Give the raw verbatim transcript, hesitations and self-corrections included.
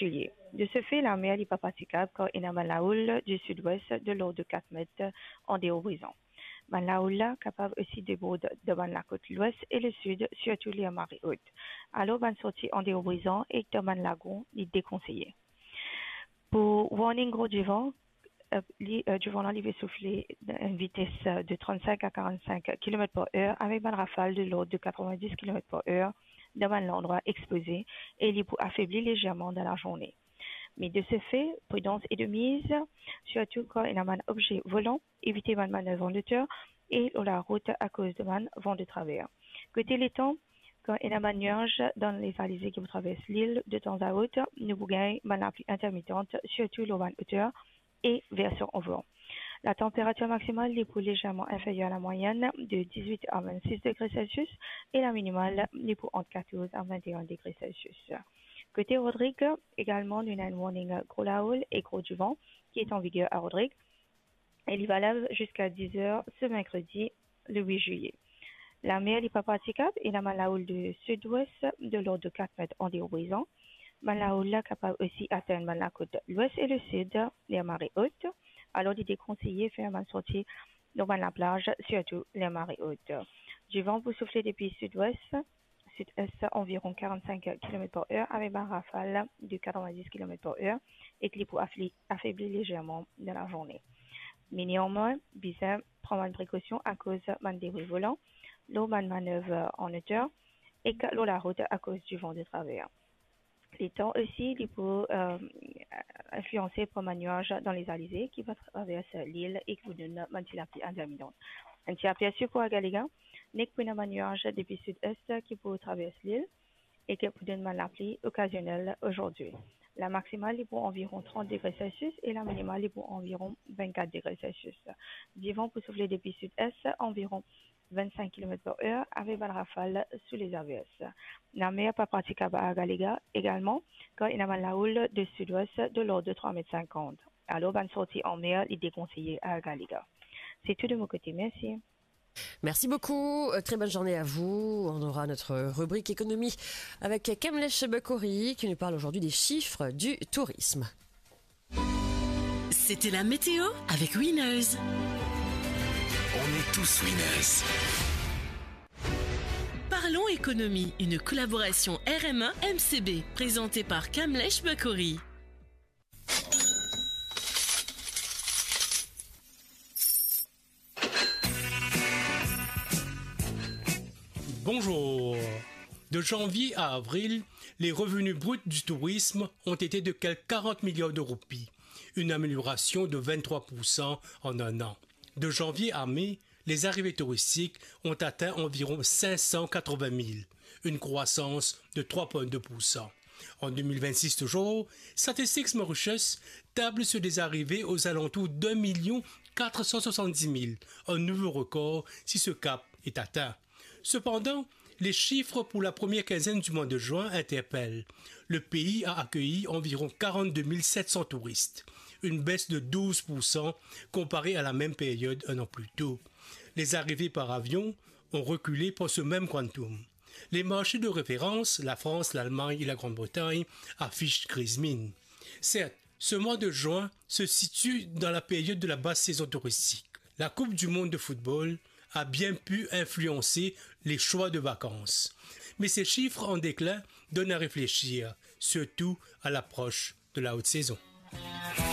Villiers. De ce fait, lamer li pa pratikab kan ena bann laoul du sud-ouest de l'ordre de quatre mètres an deor Brizan. Bann laoul la kapav osi debord dan bann lakot lwes e lesid, sirtou ler mare ot. Alor, bann sorti an deor Brizan ek dan bann lagon, li dekonseye. Pou warning gro divan, euh, li, euh, divan la, li pe soufle enn vites, euh, de trente-cinq à quarante-cinq kilomètres par heure avek bann rafal de l'ordre de quatre-vingt-dix kilomètres par heure dan bann landrwa expoze e li pou afebli lezerman dan lazourne. Me de ce fait, pridans est de mise, sirtou kan ena bann obze volan, evite bann manev an oter e lor larout akoz de bann van de traver. Kote letan, kan ena bann niaz dan lezalize ki pou travers lil, de tan a ot, nou pou gagn bann lapli intermitant, sirtou lor bann oter e version an van. Latenperatir maksimal, li pou lezerman inferyer a lamwayenn, de dix-huit à vingt-six degrés Celsius, e laminimal, li pou ant quatorze à vingt et un degrés Celsius. Kote Rodrig, egalman, nou ena enn warning gro laoul e gro divan ki est en vigueur à Rodrig, e li valab ziska dix heures ce mercredi, le huit juillet. Lamer, li pa pratikab, ena bann laoul de sud-ouest de l'ordre de quatre mètres an deor Brizan. Bann laoul la kapav osi atenn bann lakot lwes e lesid, ler mare ot. Alor, li dekonseye fer bann sorti lor bann laplaz, sirtou ler mare ot. Divan pou soufle depi sud-ouest, sud-est, environ quarante-cinq kilomètres par heure, avek bann rafal de quatre-vingt-dix kilomètres par heure, e ki li pou afli-, afebli lezerman dan lazourne. Me neanmwin, bizin pran bann prekosion akoz bann debri volan, lor bann manev an oter, ek lor larout akoz divan de traver. Letan osi, li pou, euh, inflianse par bann niaz dan lezalize ki va travers lil e ki pou donn bann ti lapli intermitant. Enn ti apersi pou Agalega, nek pou ena bann niaz depi sud-est ki pou travers lil e ki pou donn bann lapli okazionel azordi. Lamaksimal, li pou environ trente degrés Celsius e laminimal, li pou environ vingt-quatre degrés Celsius. Divan pou soufle depi sud-est, environ vingt-cinq kilomètres par heure, avek bann rafal sou lezavers. Lamer pa pratikab a Agalega egalman, kan ena bann laoul de sud-ouest de l'ordre de trois mètres cinquante. Alor, bann sorti anmer, li dekonseye a Agalega. C'est tout de mon côté. Merci. Merci beaucoup. Euh, très bonne journée à vous. On aura notre rubrique économie avec Kamlesh Bakori qui nous parle aujourd'hui des chiffres du tourisme. C'était la météo avec Winners. On est tous winners. Parlons économie, une collaboration R M A M C B, présentée par Kamlesh Bakori. Bonjour. De janvier à avril, les revenus bruts du tourisme ont été de quelque quarante milliards de roupies, une amélioration de vingt-trois pour cent en un an. De janvier à mai, les arrivées touristiques ont atteint environ cinq cent quatre-vingt mille, une croissance de trois virgule deux pour cent. En deux mille vingt-six toujours, Statistics Mauritius table sur des arrivées aux alentours d'un million quatre cent soixante-dix mille, un nouveau record si ce cap est atteint. Cependant, les chiffres pour la première quinzaine du mois de juin interpellent. Le pays a accueilli environ quarante-deux mille sept cents touristes, une baisse de douze pour cent comparée à la même période un an plus tôt. Les arrivées par avion ont reculé pour ce même quantum. Les marchés de référence, la France, l'Allemagne et la Grande-Bretagne, affichent grise mine. Certes, ce mois de juin se situe dans la période de la basse saison touristique. La Coupe du monde de football a bien pu influencer les choix de vacances. Mais ces chiffres en déclin donnent à réfléchir, surtout à l'approche de la haute saison.